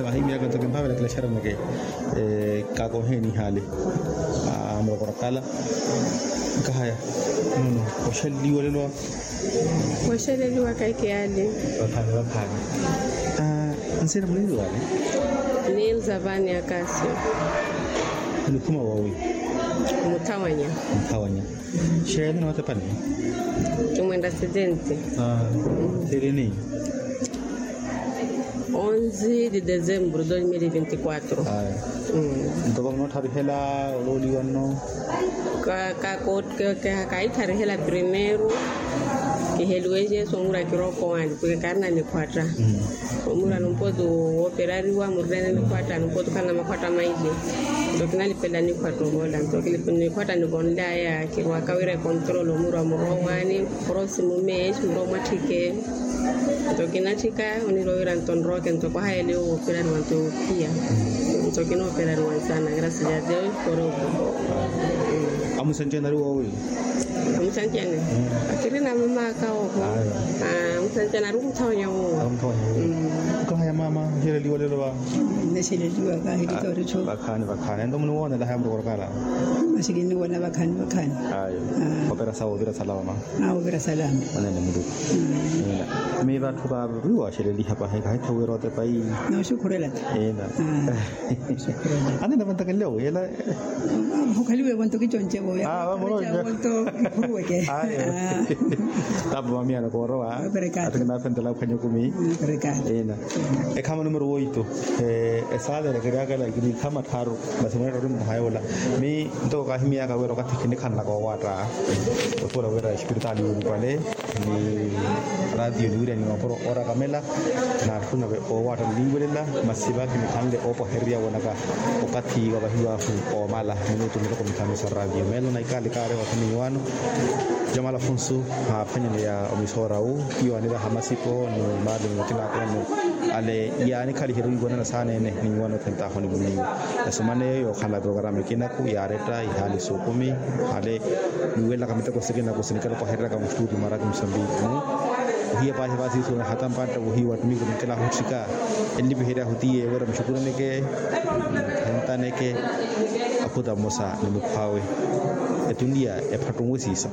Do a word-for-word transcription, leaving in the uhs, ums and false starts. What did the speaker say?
Vahimyaka nto kimpavela kilaxaraneke. Kakoheni hali. Amurokora kala. Nkahaya. Nono oxaleliwa lelo. Oxaleliwa kakiyali. Vakhani vakhani. Nsina muleliwale. Nilza vani akasio. Nikhuma wawi. Muthawanya. Muthawanya. Xeeni nootepani. Kimwenda setenti. Selini. Onze de dezembro dos mil e vinte e quatro. Nto vamootharihela olooliwa nno. Kaitharihela primeiro. Kiheliwe jesu omura kirookowaani pweke kaarina nikhwatta. Omura numpotu wooperariwa murirene nikhwatta numpotu khalina makhwatta maili. Nto kinalipela nikhwatta ovola nto nikhwatta nivonlaya kirwaka wira ekontrolo omura murowaani. Prosimu meesi muro mwatthike. Nto kinatthika onirowira nto nrooke nto kwahayele owo operariwa nto ophiya. Nto kinooperariwa nsana grasi ya deo. Koropo. Amusanjana ari wowi. Amusanjana. Akirina mamaka oho. Amusanjana ari kumuthawonya wowi. Ari kumuthawonya wowi. Kahaya mama. Nixeleliwa lelo va. Nixeleliwa kahilika oritho. Vakhani vakhani ento muniwoonela haya murokoro kala. Masi kinniwona vakhani vakhani. Ayo. Opera sawo ovira salama. Awo ovira salama. Onene muluku. Mi vatthu vaaviwa xeleliha pahi kahitha wira otepa iyi. Nooxukhurela ta. Ina. Anina vantakelele wiyela. Mukhaliwe vonto kiconcevo ya. Vamoroca. Vonto kikhuruweke. Ayo. Tapu mamiyana koorowa. Ati kinafentela khwanya kumi. Ina. Ekhama numero woito. Esaala erekeryakela ikini ekhama tharu. Masi mweetta ori mmuhayola. Mi ntoko kahimiyaka wira okathi kinikhanlaka owaatta. Otuula wira espiritaali yuulupale ni ratio niwirya ni mapuro orakamela. Naatthuna ve owaatta niwiwelela masi va kinikhanle oopwahererya wonaka okathi wavahiwahu. Omala minutu mitoko mithanu sa ratio meelo na ikaali kaari wathi ninyiwano. Jamala funsu haaphwanyaneya omisoora wu hiyo aniraha masipo ni maali ni makina akene. Ale yaanikhaliherye wiiwanana saana ene ninyiwano othentaho ni muniwo. Esomana eyo yookhala programa ekinaku yaaretta ihaali suukumi. Hale niwelelaka miteko sikinaku sinikela opahereryaka mustuuti mwaraki musambiki mu ohiya paahi vaasiisuwene hata mpantta wohiya wattumiki nikela ahutthika. Ennipiherya ahutiye wira muxukuraneke. Hentaneke. Akhuta mmosa ni mukhw'awe. Etuniya ephattunwe siisa.